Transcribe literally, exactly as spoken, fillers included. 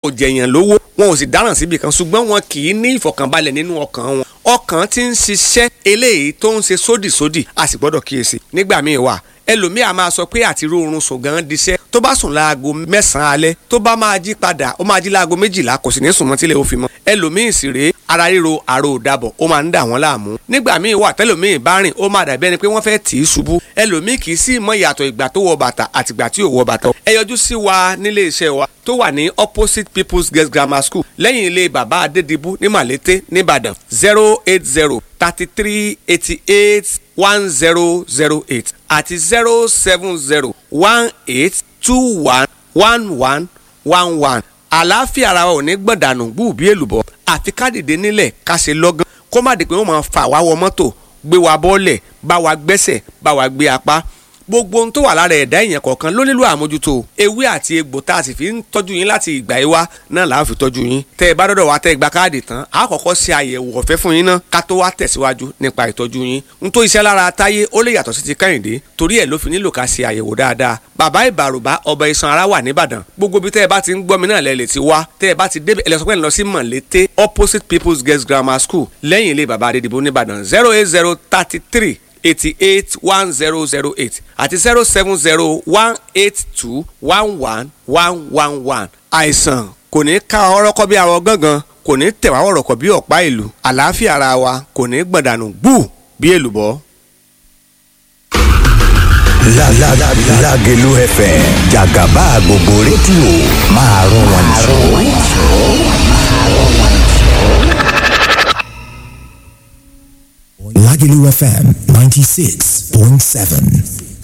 Ò jẹ̀yàn lówó, wọn ò sì dáràn síbi kan, ṣùgbọ́n wọn kì í ní ìfọ̀kànbalẹ̀ nínú ọkàn wọn. Ọkàn tí ń ṣiṣẹ́ eléyìí tó ń ṣe sódìsódì, a sì gbọ́dọ̀ kíyèsí. Nígbà míì wà, ẹlòmíì a máa sọ pé àti róorun sùn gan diṣẹ́. Tó bá sùn láago mẹ́sàn-án alẹ́, tó bá máa jí padà, ó máa jí láago méjìlá, kò sì ní sùn mọ́ tílé ó fi mọ́. Ẹlòmíì sì rèé, ara ríro, àrò òdàbọ̀, ó máa ń dà wọ́n láàmú. Nígbà míì wà, tẹlòmíì bá rìn, ó máa dàbí ẹni pé wọ́n fẹ́ tì í ṣubú. Ẹlòmíì kì í sì mọ ìyàtọ̀ ìgbà tó wọ bàtà àtìgbà tí ò wọ bàtà. Ẹ yọjú sí wa nílé iṣẹ́ wa tó wà ní opposite People's Girls Grammar School, lẹ́yìn ilé bàbá Adédìbú ní Màlété nìbàdàn. Zero eight zero thirty three eighty eight one zero zero eight àti zero seven zero one eight two one one one one one. Àlàáfíà ara wa ò ní gbọ̀dànù gbùbí èlùbọ́. Àfi ká dìde nílẹ̀, ká ṣe lọ́gán, kó má di pé wọ́n máa fà wá wọ mọ́tò, gbé wa bọ́ọ̀lẹ̀, bá wa gbẹ́sẹ̀, bá wa gbé apá. Gbogbo ohun tó wà lára ẹ̀dá èèyàn kọ̀ọ̀kan ló nílò àmójútó. Ewé àti egbò tá a sì fi ń tọ́jú yín láti ìgbà yìí wá náà là á fi tọ́jú yín. Tẹ́ ẹ bá dọ́dọ̀ wá, tẹ́ ẹ gba káàdì tán, a kọ́kọ́ ṣe àyẹ̀wò ọ̀fẹ́ fún yín náà ká tó wá tẹ̀síwájú nípa ìtọ́jú yín. N tó iṣẹ́ lára Táyé, ó lè yàtọ̀ sí ti Kẹ́hìndé, torí ẹ̀ ló fi nílò ká ṣe àyẹ̀wò dáadáa. Bàbá Ìbàrùbá ọba iṣan ara wà nìbàdàn. Gbogbo ibi tẹ́ ẹ bá ti ń gbọ́ mi náà lẹ lè ti wá. Tẹ́ ẹ bá ti débẹ̀, ẹ lọ sọ pé ẹ lọ sí Mọ̀lété, opposite People's Girls Grammar School, lẹ́yìn ilé bàbá Adédìbò nìbàdàn. Zero eight zero thirty three eighty eight one zero zero eight àti zero seven zero one eight two one one one one one. Àìsàn kò ní ká ọ̀rọ̀ kọ́ bí arọ gángan, kò ní tẹ̀wá ọ̀rọ̀ kọ́ bí ọ̀pá ìlú. Àlàáfíà ara wa kò ní gbọ̀dànù gbù bí èlùbọ́. Lágelú F M, jàgàbá gbogbo rédíò, máa rún wọn jù. Lagelu F M ninety-six point seven.